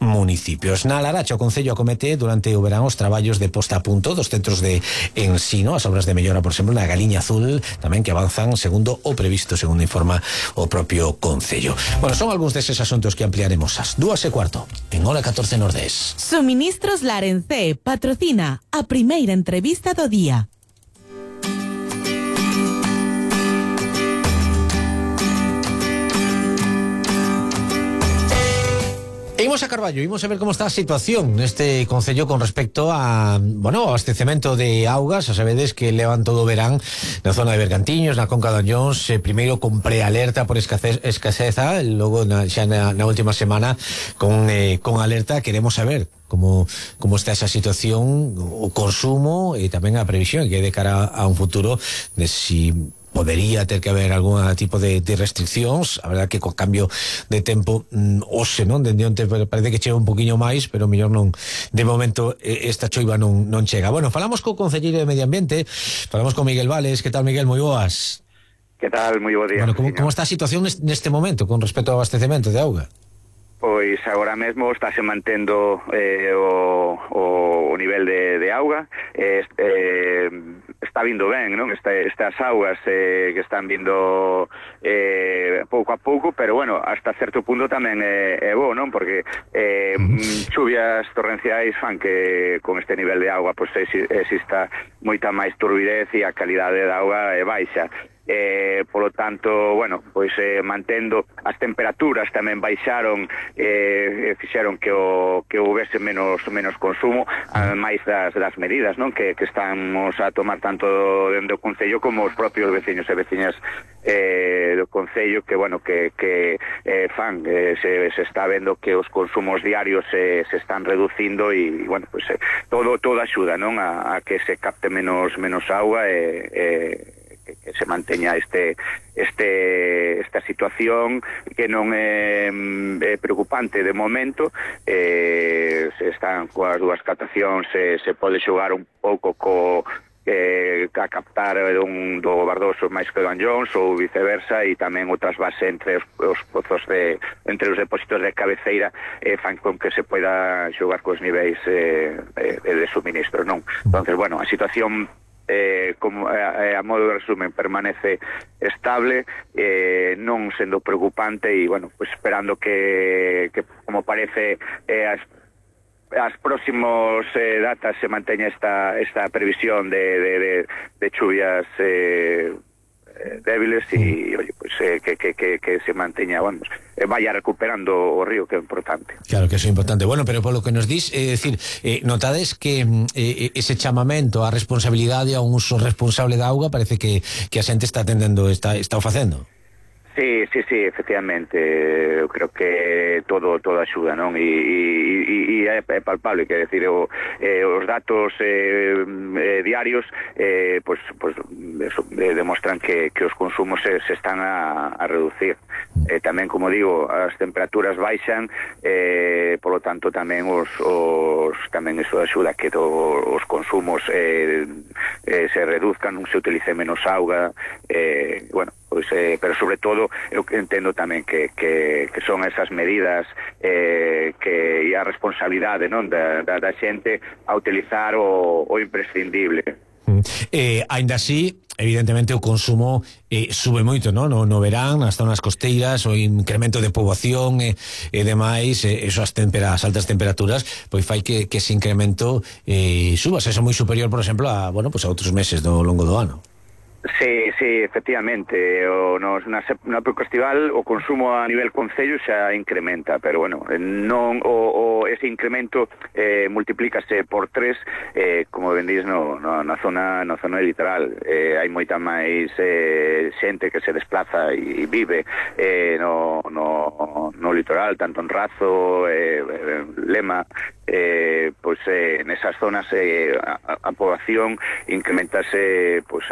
municipios. Na Laracha, o Concello acomete durante o verán os traballos de posta a punto dos centros de ensino, as obras de mellora, por exemplo, na Galiña Azul, tamén que avanzan segundo o previsto, segundo informa o propio Concello. Bueno, son algúns deses asuntos que ampliaremos ás 2:15 en Hora 14 Nordés. Suministros Larencé patrocina a primeira entrevista do día. Imos a Carballo, imos a ver como está a situación neste concello con respecto a, bueno, ao abastecemento de augas. Xa sabedes que levan todo o verán na zona de Bergantiños, na Conca de Anllóns, primeiro con prealerta por escaseza, logo xa na última semana con alerta. Queremos saber como está esa situación, o consumo e tamén a previsión que é de cara a un futuro de si podería ter que haber algún tipo de restriccións. A verdade que co cambio de tempo hoxe, non? Dende onte parece que chega un poquinho máis, pero mellor non, de momento esta choiva non chega. Bueno, falamos co concelleiro de Medio Ambiente, falamos con Miguel Vales. Que tal, Miguel? Moi boas. Que tal? Moi bo día. Bueno, como está a situación neste momento con respecto ao abastecemento de auga? Pois agora mesmo estáse mantendo o nivel de auga, está vindo ben, non? Estas augas que están vindo pouco a pouco, pero bueno, hasta certo punto tamén é bo, non? Porque chuvias torrenciais fan que con este nivel de auga pois exista moita máis turbidez e a calidade da auga é baixa. Polo tanto, bueno, pois mantendo as temperaturas tamén baixaron, fixeron que houvese menos consumo, máis das medidas, non, que estamos a tomar tanto dentro do Concello como os propios veciños e veciñas do Concello, que bueno, que fan, se está vendo que os consumos diarios se están reducindo e bueno, pues todo axuda, non, a que se capte menos auga que se manteña esta situación, que non é preocupante de momento. Se están coas dúas captacións, se pode xogar un pouco a captar do Bardoso máis que do Anllóns ou viceversa, e tamén outras bases entre os pozos entre os depósitos de cabeceira fan con que se poida xogar cos niveis de suministro, non? Entonces, bueno, a situación como a modo de resumen permanece estable, non sendo preocupante, e bueno, pues esperando que como parece as próximos datas se manteña esta previsión de chuvias débiles e pues, que se manteña, vamos, vaya recuperando o río, que é importante. Claro que eso é importante. Bueno, pero polo que nos dis, decir, notades que ese chamamento á responsabilidade, a un uso responsable da auga, parece que a xente está atendendo, está o facendo. Sí, efectivamente, eu creo que todo axuda, non? E é palpable, que decir, os datos diarios pues eso, demostran que os consumos se están a reducir. Tamén, como digo, as temperaturas baixan, polo tanto tamén tamén eso axuda que os consumos se reduzcan, non se utilice menos auga, bueno, pois, pero sobre todo eu entendo tamén que son esas medidas e a responsabilidade, non, da xente a utilizar o imprescindible. Ainda así, evidentemente o consumo sube moito, non? No verán, nas zonas costeiras, o incremento de poboación e demais, as altas temperaturas, pois fai que ese incremento suba, se é moi superior, por exemplo, a outros meses do longo do ano. Sí, efectivamente, na época estival o consumo a nivel concello xa incrementa, pero bueno, non ese incremento multiplícase por 3, como ben dís, na zona litoral. Hai moita máis xente que se desplaza e vive no litoral, tanto en Razo, Lema, pois nesas zonas a poboación incrementase por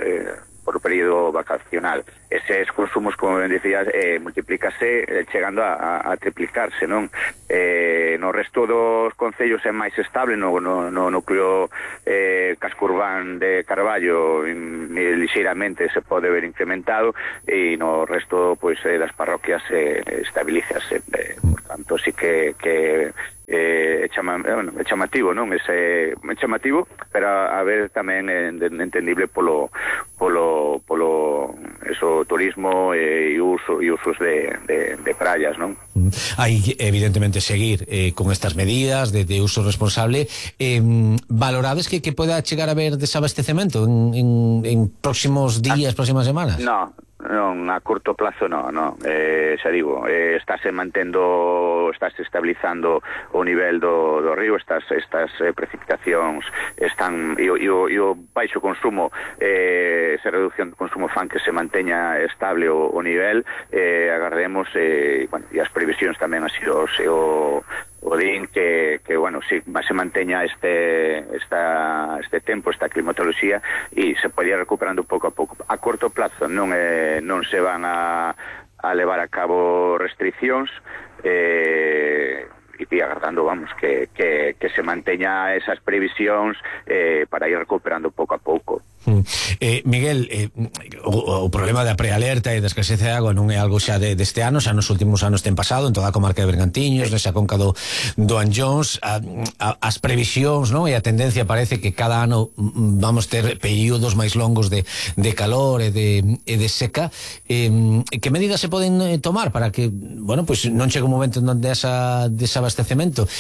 o período vacacional. Eses consumos, como ben dicías, multiplícase chegando a triplicarse, non? No resto dos concellos é máis estable, no núcleo casco urbán de Carballo lixeiramente se pode ver incrementado, e no resto das parroquias estabilízase, por tanto así que é chamativo, non? É chamativo, pero a ver tamén entendible polo eso, turismo e usos de praias, non? Hai evidentemente seguir con estas medidas de uso responsable. Valorades que poda chegar a haber desabastecemento en próximos días, próximas semanas? Non, a curto plazo non, xa digo, estáse estabilizando o nivel do río, estas precipitacións están e o baixo consumo, esa reducción de consumo fan que se manteña estable o nivel, agardemos, e as previsións tamén así o din que bueno, si se manteña este tempo, esta climatoloxía, e se podía recuperando pouco a pouco. A corto plazo non se van a levar a cabo restriccións, e agardando, vamos, que se manteña esas previsións para ir recuperando pouco a pouco. Miguel, o problema da prealerta e da escaseza de agua non é algo xa deste ano, xa nos últimos anos ten pasado en toda a comarca de Bergantiños, nesa conca do Anllóns. As previsións, non? E a tendencia parece que cada ano vamos ter períodos máis longos de calor e de seca. Que medidas se poden tomar para que, bueno, pues non chegue un momento onde desabastecemento?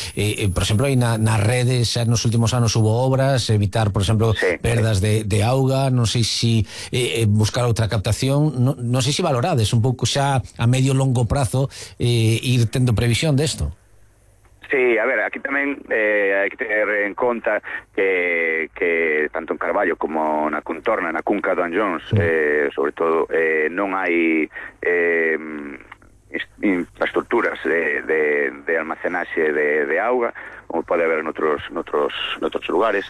Por exemplo, aí nas redes xa nos últimos anos hubo obras, evitar, por exemplo, perdas de auga, non sei se buscar outra captación, non sei se valorades un pouco xa a medio longo prazo ir tendo previsión desto. Sí, a ver, aquí tamén hai que ter en conta que tanto en Carballo como na contorna, na cunca do Anllóns, sobre todo, non hai infraestructuras de almacenaxe de auga, como pode haber noutros lugares.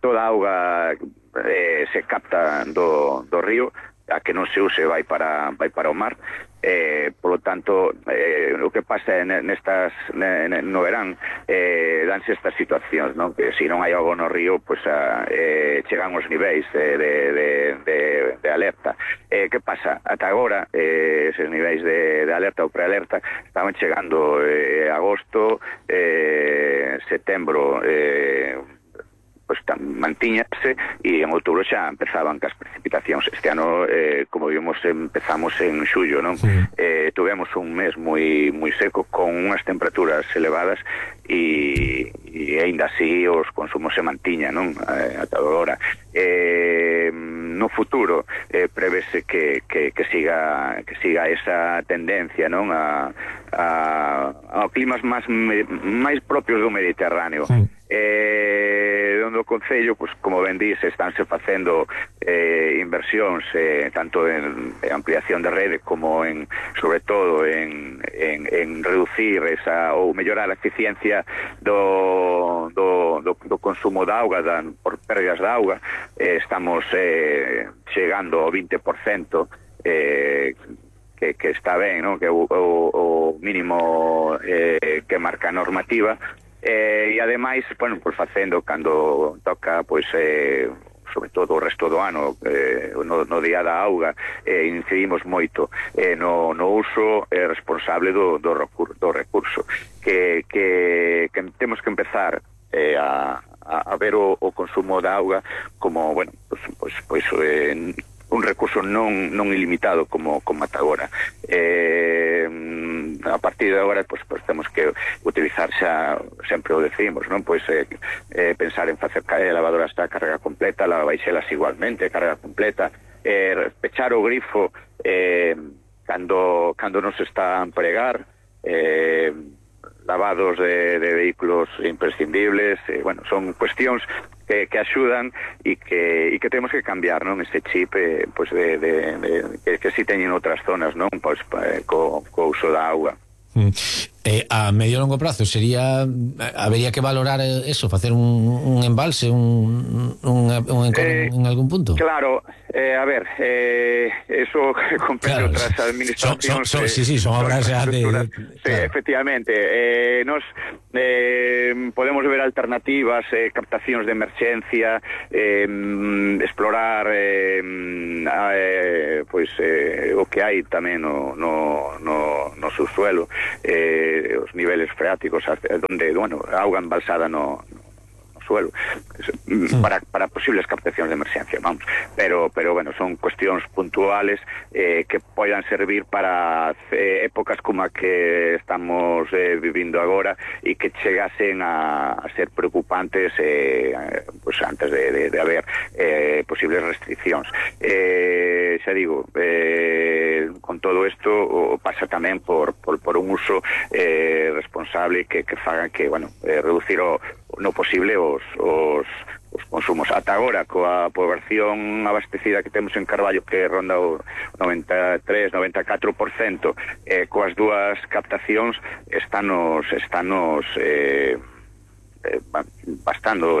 Toda a auga se capta do río, a que non se use vai para o mar. Polo tanto, o que pasa no verán, danse estas situacións, non? Que se non hai auga no río, pues chegan os niveis de alerta. Que pasa? Ata agora, eses niveis de alerta ou prealerta estaban chegando agosto, setembro, pues mantíñase, e en outubro xa empezaban cas precipitacións. Este ano, como vimos, empezamos en xullo, non? Tuvemos un mes moi seco, con unhas temperaturas elevadas, e aínda así os consumos se mantiñan, non? Ata agora. No futuro prevese que siga esa tendencia, non? A climas máis propios do Mediterráneo. Onde o Concello, pues, como ben dís, estánse facendo inversións tanto en ampliación de rede como sobre todo en reducir ou mellorar a eficiencia do consumo de auga por pérdidas de auga. Estamos chegando ao 20%, que está ben, non? Que o mínimo que marca a normativa. E ademais, bueno, pues facendo cando toca, pues sobre todo o resto do ano, no día da auga, incidimos moito no uso responsable do recurso, que temos que empezar a ver o consumo da auga como, bueno, pues un recurso non ilimitado como ata agora. A partir de agora, pues temos que utilizar xa, sempre o decimos, non? Pues pensar en facer lavadoras a carga completa, lavabaixelas igualmente, carga completa, pechar o grifo cando non se está a empregar, lavados de vehículos imprescindibles, bueno, son cuestións que axudan e que temos que cambiar, non? Este chip, pues que si teñen outras zonas, non? Pues co uso da auga. A medio e longo prazo habería que valorar eso, facer un embalse, un en algún punto. Claro, a ver, eso compete outras administracións. Son obras de... Sí, efectivamente. Nos podemos ver alternativas, captacións de emerxencia, explorar pues o que hai tamén no subsuelo, os niveles freáticos donde, bueno, auga embalsada no suelo para posibles captacións de emerxencia, vamos, pero bueno, son cuestións puntuales que poidan servir para épocas como a que estamos vivindo agora e que chegasen a ser preocupantes pues antes de haber posibles restriccións. Xa digo, con todo isto pasa tamén por un uso responsable que faga que, bueno, reducir no posible os consumos. Ata agora, coa poboación abastecida que temos en Carballo, que ronda o 93-94%, coas dúas captacións estanos bastando.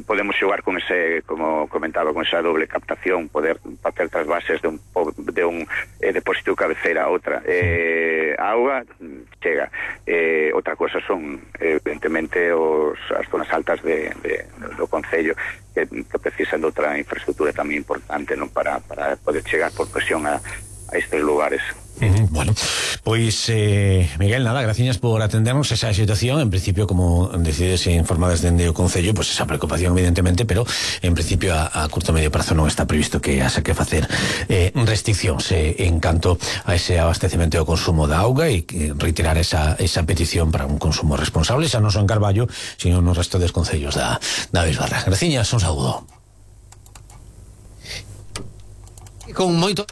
Podemos xogar con ese, como comentaba, con esa doble captación, poder facer trasvases de un depósito de cabeceira a outra. A auga chega. Outra cosa son, evidentemente, as zonas altas do concello que precisan de outra infraestructura tamén importante, non, para poder chegar por presión a estes lugares. Bueno, pois Miguel, nada, gracias por atendernos esa situación. En principio, como decides informadas dende o Concello, pois esa preocupación evidentemente, pero en principio a curto medio prazo non está previsto que haxa que facer restriccións en canto a ese abastecemento e o consumo da auga, e reiterar esa petición para un consumo responsable, xa non só en Carballo, sino no resto dos concellos da Bisbarra. Graciñas, un saúdo. Con moito...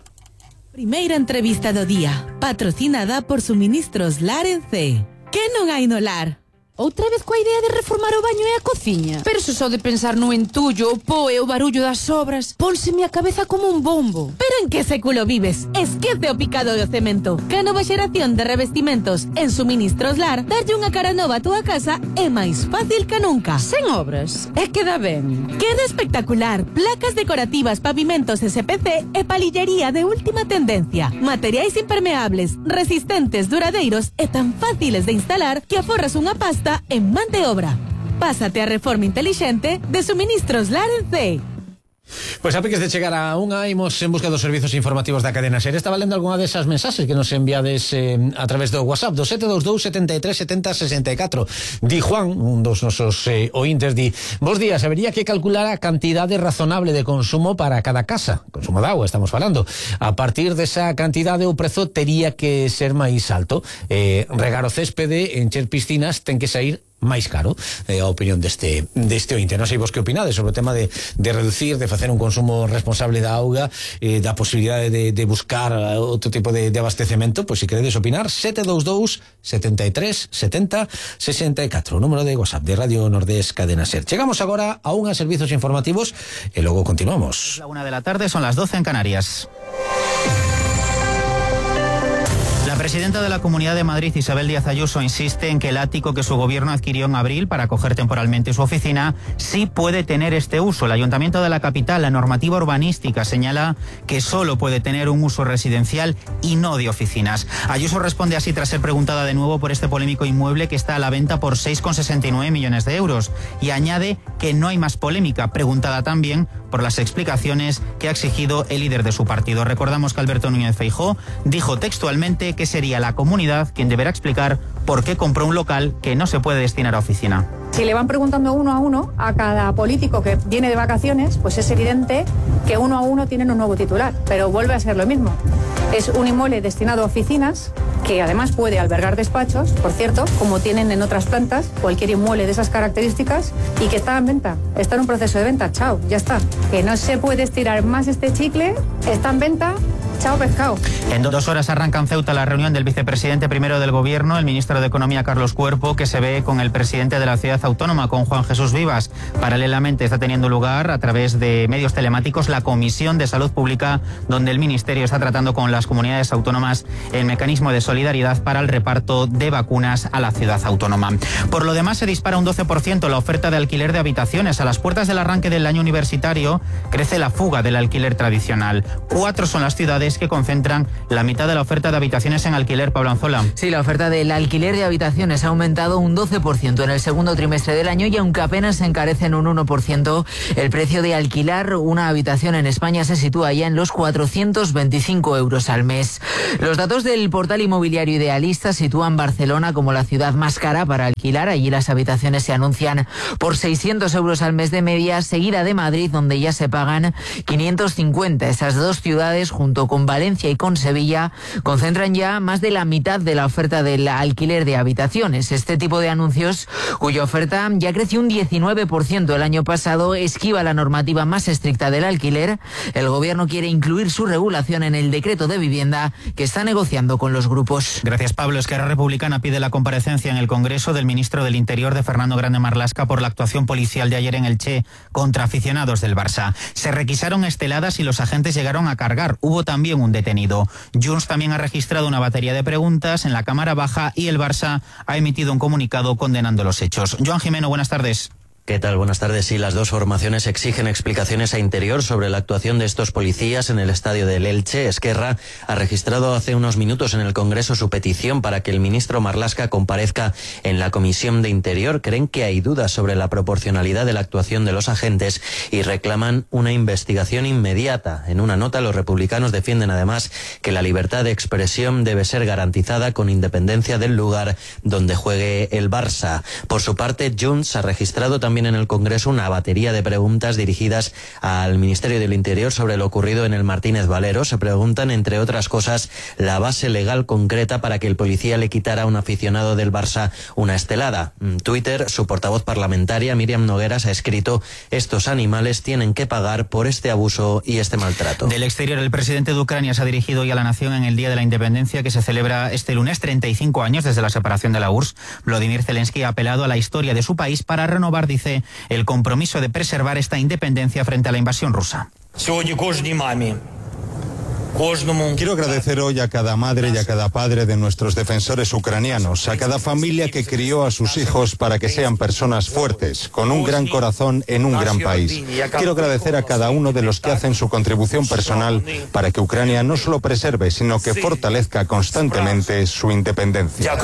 Primeira entrevista do día, patrocinada por Suministros Lar en C. Que non hai no lar? Outra vez coa idea de reformar o baño e a cociña. Pero se só de pensar no entullo, o po e o barullo das obras, pónseme a cabeza como un bombo. Pero en que século vives? Esquece o picado do cemento. Que a nova xeración de revestimentos en Suministros Lar, darlle unha cara nova a túa casa é máis fácil que nunca. Sen obras, é que dá ben. Queda espectacular. Placas decorativas, pavimentos SPC e palillería de última tendencia. Materiais impermeables, resistentes, duradeiros e tan fáciles de instalar que aforras unha pasta en man de obra. Pásate a reforma inteligente de Suministros Lar en C. Pois a piques de chegar a unha, imos en busca dos servizos informativos da cadena SER. Estaba lendo algunha desas mensaxes que nos enviades a través do WhatsApp do 722 73 70 64. Di Juan, un dos nosos ointes, di: bos días, habería que calcular a cantidade razonable de consumo para cada casa. Consumo de agua, estamos falando. A partir desa cantidade o prezo tería que ser máis alto. Regar o céspede, encher piscinas, ten que sair máis caro. A opinión deste ointe. Non sei vos que opinades sobre o tema de reducir, de facer un consumo responsable da auga, da posibilidade de buscar outro tipo de abastecemento. Pois se queredes opinar, 722 73 70 64, o número de WhatsApp de Radio Nordés Cadena SER. Chegamos agora a unha servizos informativos e logo continuamos. La 1 de la tarde, son las 12 en Canarias. La presidenta de la Comunidad de Madrid, Isabel Díaz Ayuso, insiste en que el ático que su gobierno adquirió en abril para acoger temporalmente su oficina sí puede tener este uso. El Ayuntamiento de la capital, la normativa urbanística, señala que solo puede tener un uso residencial y no de oficinas. Ayuso responde así tras ser preguntada de nuevo por este polémico inmueble que está a la venta por 6,69 millones de euros. Y añade que no hay más polémica, preguntada también por las explicaciones que ha exigido el líder de su partido. Recordamos que Alberto Núñez Feijóo dijo textualmente que sería la comunidad quien deberá explicar por qué compró un local que no se puede destinar a oficina. Si le van preguntando uno a uno a cada político que viene de vacaciones, pues es evidente que uno a uno tienen un nuevo titular, pero vuelve a ser lo mismo. Es un inmueble destinado a oficinas, que además puede albergar despachos, por cierto, como tienen en otras plantas, cualquier inmueble de esas características, y que está en venta, está en un proceso de venta, chao, ya está. Que no se puede estirar más este chicle, está en venta, chao pescado. En 2 horas arranca en Ceuta la reunión del vicepresidente primero del Gobierno, el ministro de Economía Carlos Cuerpo, que se ve con el presidente de la ciudad autónoma, con Juan Jesús Vivas. Paralelamente está teniendo lugar, a través de medios telemáticos, la Comisión de Salud Pública, donde el Ministerio está tratando con las comunidades autónomas el mecanismo de solidaridad para el reparto de vacunas a la ciudad autónoma. Por lo demás, se dispara un 12% la oferta de alquiler de habitaciones. A las puertas del arranque del año universitario crece la fuga del alquiler tradicional. 4 son las ciudades es que concentran la mitad de la oferta de habitaciones en alquiler. Pablo Anzola. Sí, la oferta del alquiler de habitaciones ha aumentado un 12% en el segundo trimestre del año y aunque apenas se encarece en un 1%, el precio de alquilar una habitación en España se sitúa ya en los 425 euros al mes. Los datos del portal inmobiliario Idealista sitúan Barcelona como la ciudad más cara para alquilar. Allí las habitaciones se anuncian por 600 euros al mes de media, seguida de Madrid, donde ya se pagan 550. Esas dos ciudades, junto con Valencia y con Sevilla, concentran ya más de la mitad de la oferta del alquiler de habitaciones. Este tipo de anuncios, cuya oferta ya creció un 19% el año pasado, esquiva la normativa más estricta del alquiler. El gobierno quiere incluir su regulación en el decreto de vivienda que está negociando con los grupos. Gracias, Pablo. Esquerra Republicana pide la comparecencia en el Congreso del ministro del Interior, de Fernando Grande Marlaska, por la actuación policial de ayer en Elche contra aficionados del Barça. Se requisaron esteladas y los agentes llegaron a cargar. Hubo también un detenido. Junts también ha registrado una batería de preguntas en la Cámara Baja y el Barça ha emitido un comunicado condenando los hechos. Joan Jimeno, buenas tardes. ¿Qué tal? Buenas tardes. Sí, las dos formaciones exigen explicaciones a Interior sobre la actuación de estos policías en el estadio del Elche. Esquerra ha registrado hace unos minutos en el Congreso su petición para que el ministro Marlaska comparezca en la Comisión de Interior. Creen que hay dudas sobre la proporcionalidad de la actuación de los agentes y reclaman una investigación inmediata. En una nota, los republicanos defienden además que la libertad de expresión debe ser garantizada con independencia del lugar donde juegue el Barça. Por su parte, Junts ha registrado también en el Congreso una batería de preguntas dirigidas al Ministerio del Interior sobre lo ocurrido en el Martínez Valero. Se preguntan, entre otras cosas, la base legal concreta para que el policía le quitara a un aficionado del Barça una estelada. En Twitter, su portavoz parlamentaria, Míriam Nogueras, ha escrito: estos animales tienen que pagar por este abuso y este maltrato. Del exterior, el presidente de Ucrania se ha dirigido hoy a la nación en el Día de la Independencia, que se celebra este lunes, 35 años desde la separación de la URSS. Volodymyr Zelensky ha apelado a la historia de su país para renovar, dice, el compromiso de preservar esta independencia frente a la invasión rusa. Quiero agradecer hoy a cada madre y a cada padre de nuestros defensores ucranianos, a cada familia que crió a sus hijos para que sean personas fuertes, con un gran corazón en un gran país. Quiero agradecer a cada uno de los que hacen su contribución personal para que Ucrania no solo preserve, sino que fortalezca constantemente su independencia.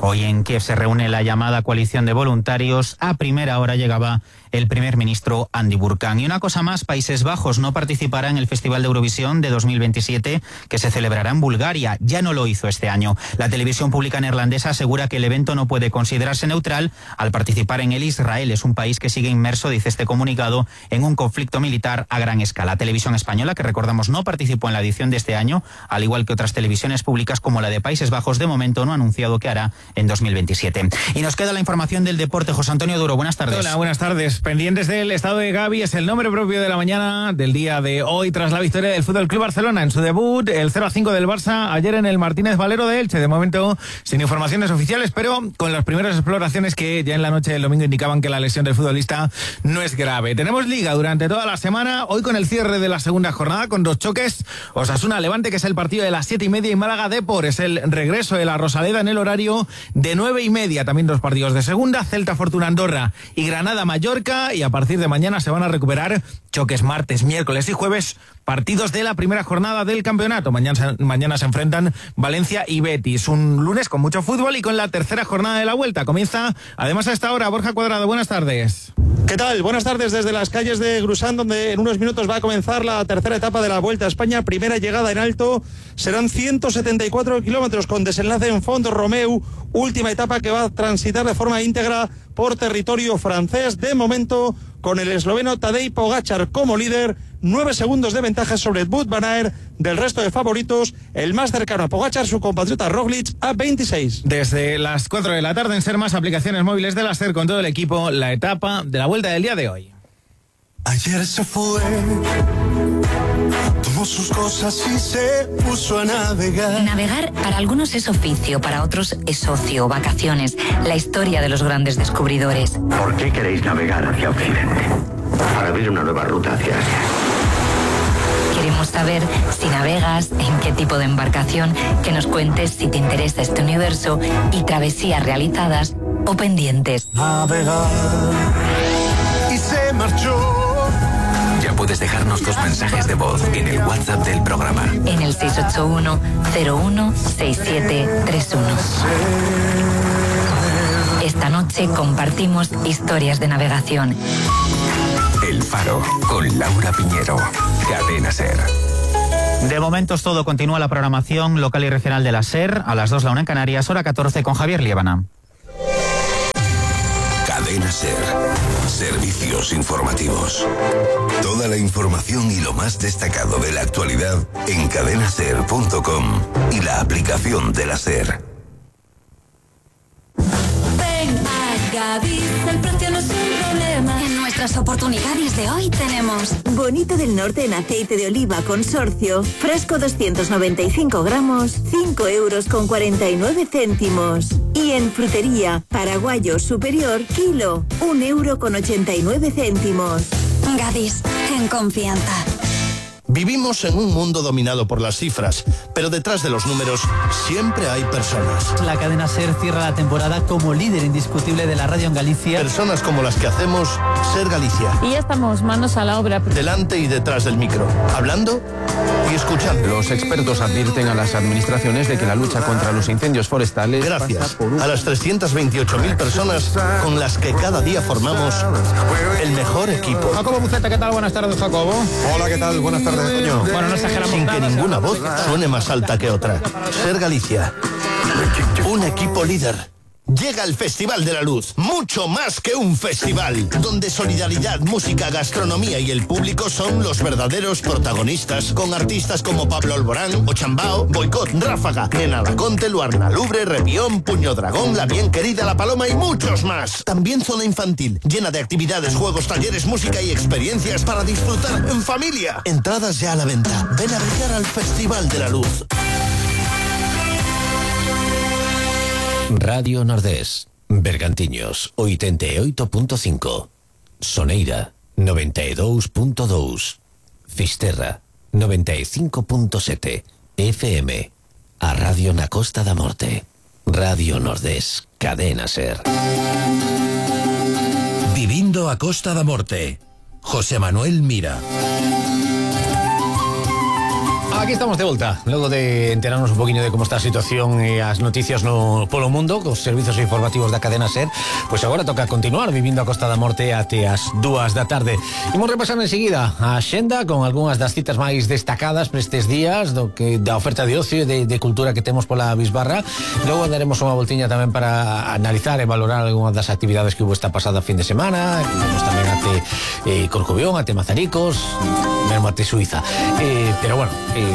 Hoy en Kiev se reúne la llamada coalición de voluntarios. A primera hora llegaba el primer ministro Andy Burkan. Y una cosa más, Países Bajos no participará en el Festival de Eurovisión de 2027 que se celebrará en Bulgaria. Ya no lo hizo este año. La televisión pública neerlandesa asegura que el evento no puede considerarse neutral al participar en él Israel. Es un país que sigue inmerso, dice este comunicado, en un conflicto militar a gran escala. Televisión Española, que recordamos no participó en la edición de este año, al igual que otras televisiones públicas como la de Países Bajos, de momento no ha anunciado qué hará en 2027. Y nos queda la información del deporte. José Antonio Duro, buenas tardes. Hola, buenas tardes. Pendientes del estado de Gavi, es el nombre propio de la mañana del día de hoy tras la victoria del Fútbol Club Barcelona en su debut, el 0-5 del Barça ayer en el Martínez Valero de Elche. De momento sin informaciones oficiales, pero con las primeras exploraciones que ya en la noche del domingo indicaban que la lesión del futbolista no es grave. Tenemos liga durante toda la semana, hoy con el cierre de la segunda jornada con dos choques: Osasuna-Levante, que es el partido de las 7:30, y Málaga-Depor es el regreso de la Rosaleda en el horario de 9:30. También dos partidos de segunda, Celta-Fortuna-Andorra y Granada-Mallorca, y a partir de mañana se van a recuperar choques martes, miércoles y jueves, partidos de la primera jornada del campeonato. Mañana se enfrentan Valencia y Betis. Un lunes con mucho fútbol y con la tercera jornada de la vuelta. Comienza además a esta hora Borja Cuadrado. Buenas tardes. ¿Qué tal? Buenas tardes desde las calles de Grusán, donde en unos minutos va a comenzar la tercera etapa de la Vuelta a España. Primera llegada en alto, serán 174 kilómetros con desenlace en Font Romeu. Última etapa que va a transitar de forma íntegra por territorio francés. De momento, con el esloveno Tadej Pogačar como líder, 9 segundos de ventaja sobre Wout van Aert. Del resto de favoritos, el más cercano a Pogačar, su compatriota Roglic, a 26. Desde las 4 de la tarde en Ser Más, aplicaciones móviles de la SER con todo el equipo, la etapa de la Vuelta del día de hoy. Ayer se fue, tomó sus cosas y se puso a navegar. Navegar para algunos es oficio, para otros es ocio, vacaciones, la historia de los grandes descubridores. ¿Por qué queréis navegar hacia Occidente? Para abrir una nueva ruta hacia Asia. Queremos saber si navegas, en qué tipo de embarcación, que nos cuentes si te interesa este universo y travesías realizadas o pendientes. Navegar y se marchó. Ya puedes dejarnos tus mensajes de voz en el WhatsApp del programa. En el 681-016731. Esta noche compartimos historias de navegación. El Faro, con Laura Piñero. Cadena SER. De momento es todo. Continúa la programación local y regional de la SER. A las 2 la 1 en Canarias, hora 14 con Javier Liébana. Cadena SER. Servicios informativos. Toda la información y lo más destacado de la actualidad en cadenaser.com y la aplicación de la SER. Ven a Gadis, el precio no es un problema. En nuestras oportunidades de hoy tenemos Bonito del Norte en aceite de oliva consorcio, fresco 295 gramos, 5,49 €. Y en frutería, paraguayo superior, kilo, 1,89 €. Gadis, en confianza. Vivimos en un mundo dominado por las cifras, pero detrás de los números siempre hay personas. La cadena SER cierra la temporada como líder indiscutible de la radio en Galicia. Personas como las que hacemos SER Galicia. Y ya estamos manos a la obra. Delante y detrás del micro, hablando y escuchando. Los expertos advierten a las administraciones de que la lucha contra los incendios forestales... Gracias a las 328.000 personas con las que cada día formamos el mejor equipo. Jacobo Buceta, ¿qué tal? Buenas tardes, Jacobo. Hola, ¿qué tal? Buenas tardes. Bueno, no exageramos. Sin que ninguna voz suene más alta que otra. SER Galicia. Un equipo líder. Llega el Festival de la Luz, mucho más que un festival, donde solidaridad, música, gastronomía y el público son los verdaderos protagonistas, con artistas como Pablo Alborán, Ochambao, Boicot, Ráfaga, Nena Laconte, Luarna Lubre, Repión, Puño Dragón, La Bien Querida, La Paloma y muchos más. También zona infantil, llena de actividades, juegos, talleres, música y experiencias para disfrutar en familia. Entradas ya a la venta. Ven a brillar al Festival de la Luz. Radio Nordés, Bergantiños, 88.5, Soneira, 92.2, Fisterra, 95.7, FM, a Radio na Costa da Morte, Radio Nordés, Cadena SER. Vivindo a Costa da Morte, José Manuel Mira. Aquí estamos de volta, logo de enterarnos un poquinho de como está a situación e as noticias no polo mundo, cos servizos informativos da cadena SER. Pois agora toca continuar vivindo a Costa da Morte até as 2 da tarde. Imos repasar enseguida a xenda con algunhas das citas máis destacadas para estes días da oferta de ocio e de cultura que temos pola Bisbarra. Logo daremos unha voltiña tamén para analizar e valorar algunhas das actividades que hubo esta pasada fin de semana. Iremos tamén até Corcubión, até Mazaricos, mesmo até Suiza. Pero bueno, que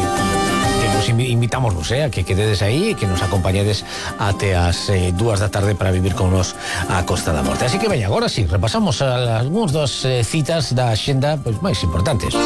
nos invitamos a que quededes aí e que nos acompañedes até as 2 da tarde para vivir con nos a Costa da Morte. Así que veña, agora sí, repasamos algúns das citas da xenda máis importantes.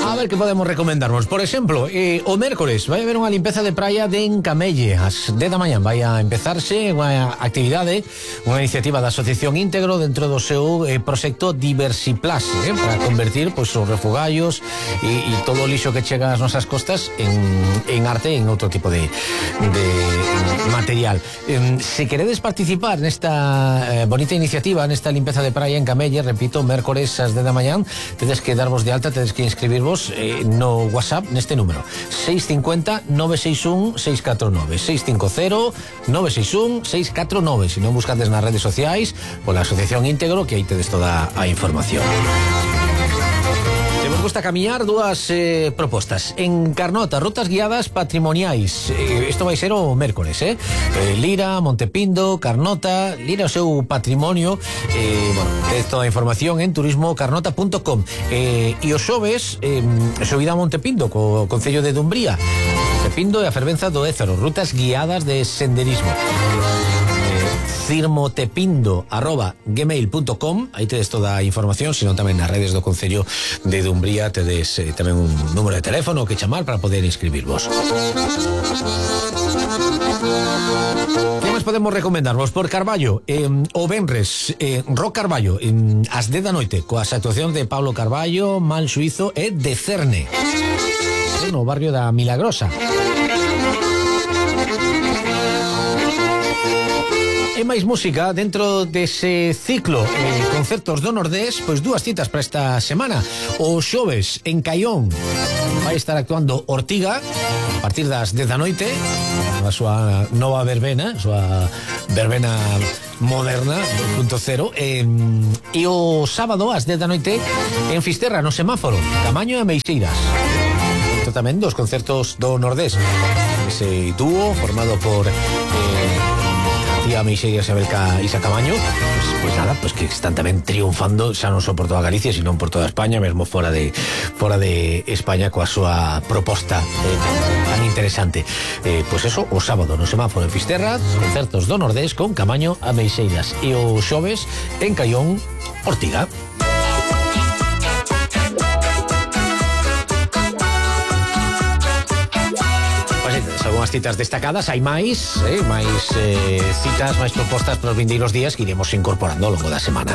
A ver que podemos recomendarnos. Por exemplo, o mércores vai haber unha limpeza de praia de Encamelle. As 10 da mañán vai a empezarse unha actividade, unha iniciativa da Asociación Íntegro dentro do seu proxecto Diversiplas, para convertir os refugallos e todo o lixo que chega ás nosas costas en arte, en outro tipo de material. Se queredes participar nesta bonita iniciativa, nesta limpeza de praia en Camelle, repito, mércores ás 10 da mañán, tedes que darvos de alta, tedes que inscribirvos no WhatsApp neste número 650 961 649 650 961 649. Se non buscades nas redes sociais pola Asociación Íntegro, que aí tedes toda a información. Se vos gusta camiñar, dúas propostas. En Carnota, rutas guiadas patrimoniais. Isto vai ser o mércores, Lira, Montepindo, Carnota, Lira o seu patrimonio. Bueno, tedes toda a información en turismocarnota.com. E os xoves, subida a Montepindo, co Concello de Dumbría. Montepindo e a fervenza do Ézaro, rutas guiadas de senderismo. cirmotepindo@gmail.com. Aí tedes toda a información, senón tamén nas redes do Concello de Dumbría tedes tamén un número de teléfono que chamar para poder inscribirvos. Que máis podemos recomendarvos? Por Carballo, o venres, Rock Carballo, ás 10 da noite, coas actuacións de Pablo Carballo, Mal Suizo e de Cerne, no barrio da Milagrosa. e máis música dentro dese ciclo concertos do Nordés, pois dúas citas para esta semana. O xoves en Caión vai estar actuando Ortiga a partir das 10 da noite, a súa nova verbena, a súa verbena moderna 2.0, e o sábado ás 10 da noite en Fisterra, no Semáforo, Camaño e Meixeiras. Isto tamén dos concertos do Nordés, ese dúo formado por tía Meixeiras e Belka Isa Camaño, pues nada, pues que están tamén triunfando xa non só por toda Galicia, sino por toda España, mesmo fora de España, coa súa proposta tan interesante. Pues eso, o sábado no Semáforo en Fisterra, concertos do Nordés con Camaño a Meixeiras, e o xoves en Caión, Ortiga. Algunhas citas destacadas, hai máis citas, máis propostas para os vindeiros días que iremos incorporando ao longo da semana.